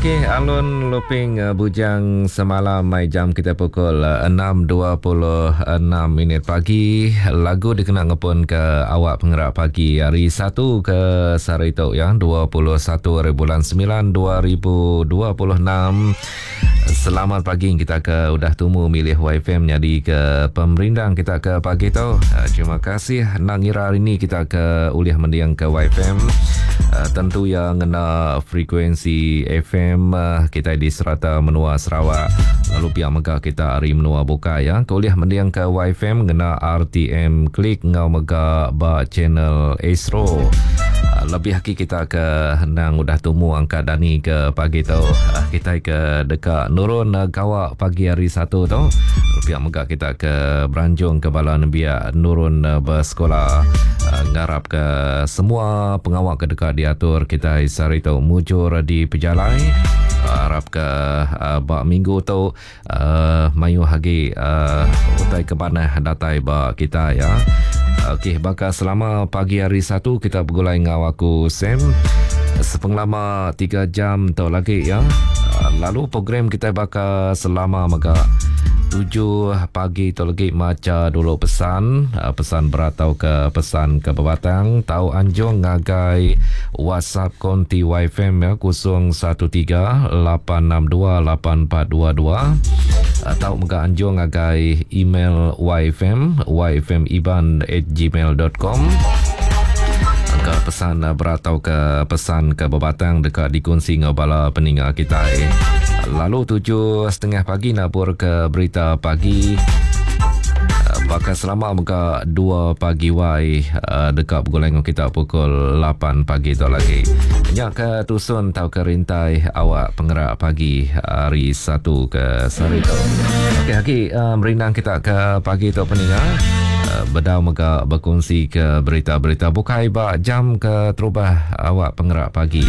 Okey, alun luping bujang semalam mai jam kita pukul 6.26 minit pagi. Lagu dikena ngepun ke awak pengerak pagi hari 1 ke sehari tu ya, 21 hari bulan 9 2026. Selamat pagi kita ke udah tumu milih YFM jadi ke pemerindang kita ke pagi tu. Terima kasih nang ngira hari ni kita ke ulih mending ke YFM. Tentu ya ngena frekuensi FM kita di serata menua Sarawak. Lalu pia mega kita ari menua bukai ya. Ke ulih mending ke YFM ngena RTM Klik ngau mega ba channel Astro. Lebih agi kita ke nang udah tumu angkat dani ke pagi tu. Kita ke deka nurun gawa pagi hari Satu tu. Pia mega kita ke beranjung ke bala nembiak nurun besekolah. Ngarap ke semua pengawa ke deka diatur kita sehari tu mujur dipejalai. Arap ke ba minggu tu mayuh agi utai ke manah datai ba kita ya. Okey, baka selama pagi hari Satu kita begulai enggau aku Sam sepengelama 3 jam tu lagi ya. Lalu program kita baka selama mega 7 pagi tu lagi macha dulu pesan, pesan berat tauka pesan ke bebatang tau anjung ngagai WhatsApp konti YFM ya 013 862 8422 tau mega anjung ngagai email YFM yfmiban@gmail.com. Angka pesan berat tauka pesan ke bebatang deka dikunsi enggau bala peninga kitai. Lalu 7.30 pagi nabur ke berita pagi. Baka selama mega 2 pagi wai deka begulai enggau kita pukul 8 pagi tu lagi. Nya ke tusun tauka rintai awak pengerak pagi hari Satu ke sehari tu. Okey agi merindang kita ke pagi tu peninga. Bedau mega bekunsi ke berita-berita bukai ba jam ke terubah awak pengerak pagi.